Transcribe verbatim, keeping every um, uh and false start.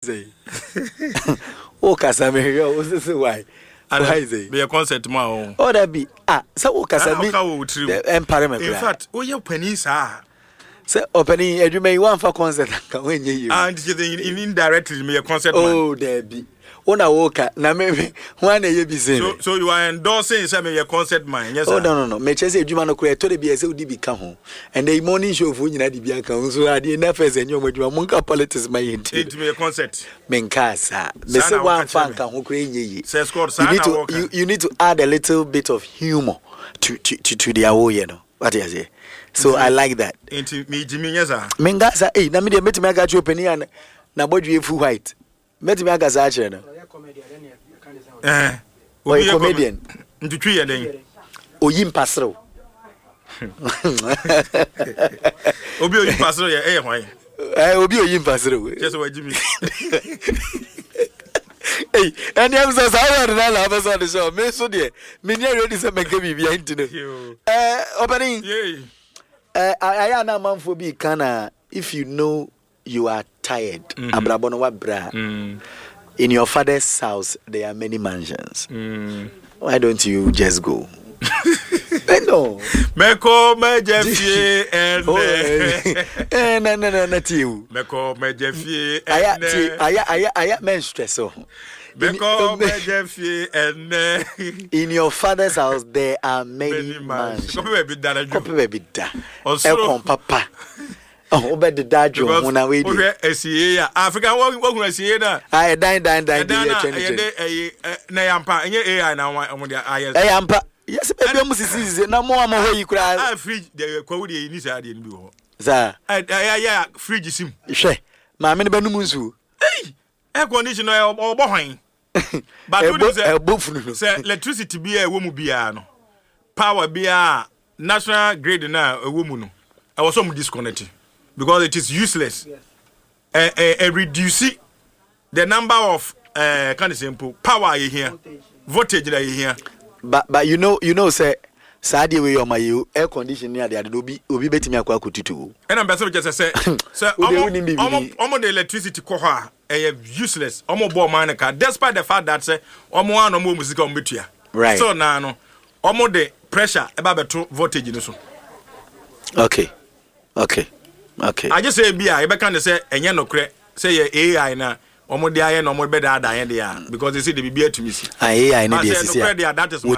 Sɛ wokasa, mehwɛ wo sese why why sɛ meyɛ concert mu a o. Oh, dabi, ah, sɛ wokasa mi Ɔka wɔ wo tirim. Ɛmpare me In koraa. fact, woyɛ panin saa. Sɛ ɔpanin adwuma yi, woamfa concert anka woanyɛ yie. Ah, nti kyerɛ sɛ indirectly meyɛ concert man. Oh, dabi, wo na woka na me me ho ana ɛyɛ bi sen so me. So you are endorsing sɛ meyɛ concert man, nyɛ saa? Oh, no no no mekyerɛ sɛ adwuma no koraa, ɛtɔ de bi a, ɛsɛ wode bi ka ho. Ɛnɛ morning show foɔ nyinaa de bi aka ho so adeɛ na fɛ sɛ ɛnyɛ ɔmo adwuma. Monka politics ma yɛ nti. Nti meyɛ concert. Menkaa saa. Saa Mese na woka woamfa kyerɛ me. nka ho koraa, ɛnyɛ yie. Sɛ Scott, You saa need na to wɔka. you, you need to add a little bit of humor to to to, to deɛ woyɛ no, wate aseɛ? So I like that. Nti megye mi, nyɛ saa? Menka saa. Ei, na medeɛ mɛtumi aka kyerɛ ɔpanin a na- na bɔdwe fu white, mɛtumi aka saa kyerɛ no. Eh, obi Ɔyɛ yɛ comedian. Nti twi yɛ dɛn? Oyi mpaserew. Obi oyi mpaserew yɛ ɛyɛ hwan? Eh, obi oyi mpaserew. Kyerɛ sɛ wagye mi. Ei, ɛne ɛm sɛ saa word no na wopɛ sɛ ɔde hyɛ me so deɛ, menyɛ ready sɛ mɛka biribia nti no. Yo. Eh, ɔpanin. Yei. Eh, ayɛ a na amanfoɔ bi ka na if you know you are tired, Mhm. abrabɔ no wabrɛ a, Mm, in your father's house there are many mansions, mm. why don't you just go? Eh, no. Mɛkɔ mɛgya fie Oh, ɛnɛ. eh, na na na na tie o. Mɛkɔ mɛgya fie Aya tie. ɛnɛ. Aya aya aya, men stress o. Mɛkɔ mɛgya fie ɛnɛ. In your father's house there are many many mansions. mansions. Kɔpɛ baabi da na dwo. Kɔpɛ baabi da. Ɔsoro. Ɛkɔn papa ɔho wobɛdeda adwo ho na wei deɛ. Wohwɛ asie a Africa, wohunu asie no a Ah, ɛdan dan dan de ɛdan yɛ na twɛn ɛyɛ twɛn. de ɛyɛ ɛ, na ɛyɛ ampa, ɛnyɛ A I na wɔn wɔn de ayɛ? Ɛyɛ ampa, yɛsɛ baabi a mo sisi sisi na mo a mo hɔ yi koraa. A fridge deɛ, kwawu deɛ, ni saa deɛ no bi wɔ hɔ. Saa. Ɛ ɛyɛ ayɛ a fridge sim. Hwɛ, maame no bɛnum nsuo. Air condition no, ɛyɛ ɔbɔ hwan? But ɛbɔ wonim sɛ ɛbɔ funu no. Sɛ electricity bi a ɛwɔ mu biara no, power biara, national grid na ɛwɔ mu no, ɛwɔ sɛ ɔmo disconnect because it is useless. ɛ ɛ ɛ reduce the number of ɛɛ kan sɛ mpo power a yɛhia, voltage na yɛhia. but but you know you know sɛ saa adeɛ wei yɛ ɔma yi o, air condition ne adeade no, obi obi bɛtumi akɔ akɔtutu o. Ɛna mpɛ sɛ kyɛ sɛ sɛ sɛ Wo deɛ ɔmo wonim biribi ɔmo ni. Ɔmo de electricity kɔ hɔ a, ɛyɛ useless. Ɔmo bɔ ɔman no ka despite the fact that sɛ ɔmo ano ɔmo wɔ mu sika ɔmo bɛtua. Right. Still naa no, ɔmo de pressure ɛba bɛto voltage no so. okay okay okay Agye sɛ ebi a yɛbɛka ne sɛ ɛnyɛ nokorɛ sɛ yɛ A I na ɔmo de ayɛ na ɔmo bɛdaadaa yɛn deɛ a, because they say de biribi atumi si. Ah, A I ne But deɛ sɛ sisi nokorɛ a deɛ a, that is my